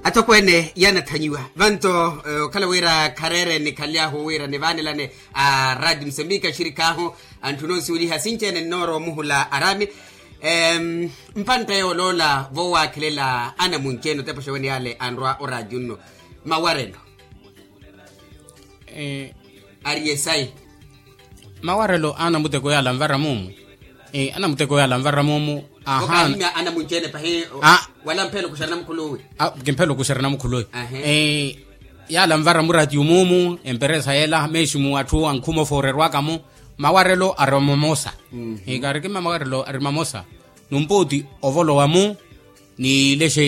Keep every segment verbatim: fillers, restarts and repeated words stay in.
Atokweene yaanathanyiwa vanto. Okhala wira khareere nikhaly'ahu wira nivaanelane a raati musembika axirik'ahu, anthu noosuweliha sinci-ene nnoora omuhula araami. Mpantta yooloola voowakhelela anamunci-ene otepa oxewene yaale anrwa oraati unno. Mawarelo. Ari yesayi. Mawarelo a anamuteko yaala anvara moomu. Anamuteko yaala anvara moomu. Okaahimya anamunci-ene pahi. Wala mphelo kuxari namukhuluwe. Kimphelo kuxari namukhuluwe. Yaala anvara muraati omoomu emperesa yeela meeximu atthu ankhuma ofooreerwaka-mo. Mawarelo ari mamosa. Kaarikima mawarelo ari mamosa. Numpooti ovolowa-mu. Nilexe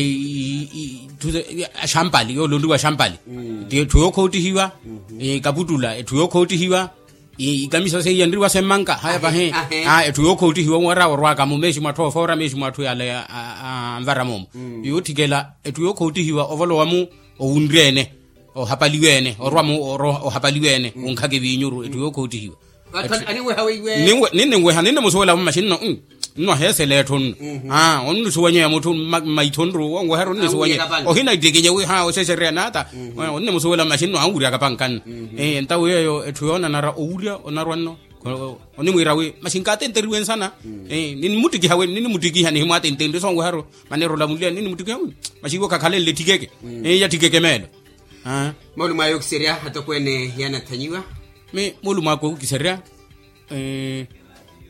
axampali yoolonriwa axampali. Ti etthu yookhootihiwa. Kaputtula etthu yookhootihiwa. Ikamisa seiya nriwa semmanka haya pahi. Etthu yookhootihiwa wara orwaka-mu meeximu atthu oofoora meeximu atthu yaale anvara moomu. Yootthikela etthu yookhootihiwa ovolowa-mu. Owunri-ene ohapaliwa-ene orwa-mu ohapaliwa-ene. Wunkhaka eviinyuru etthu yookhootihiwa. Ninweha ninnemusuwela mmaxinno. Nno aheesela etthu nno. Onnisuwanyeya mutthu mmaitho nru wonweharu onnisuwanyeya. Ohina ittikinye wi ha oxexereya naata. Onnemusuwela mmaxinno anwuryaka panka nno. Entawo yeeyo etthu yoonanara owurya onarwa nno. Onimwiira wi maxinka atenteriwe nsana. Ninimuttikiha wi ninimuttikiha nihimwaatentenrye sonweharu. Maneera olamuliya ninimuttikiha wi maxinka okakhalenle ettikeke. Yattikeke meelo. Moolumo ayo okiserya atokweene yaanathanyiwa. Mi moolumo ako okiserya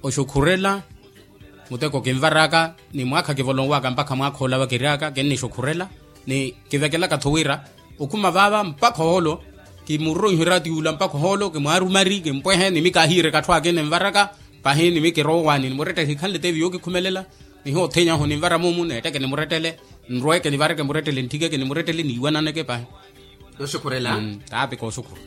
oxukhurela. Muteko kinvaraka ni mwaakha kivolonwaka mpakha mwaakha ola vakiryaka kinnixukhurela. Ni kivekelaka-tho wira okhuma vaava mpakha ohoolo. Kimuroroiherya tiwula mpakha ohoolo kimwaarumari kimpwehe ni mikaahiireka atthu akina envaraka. Pahi ni mikirowani nimurettele hikhanle teevi yookikhumelela. Nihoothenyahu ninvara mumu neetteke nimurettele. Nrweke nivareke murettele ntthikeke nimurettele niiwananeke pahi. Nooxukhurela. Taapi kooxukhura.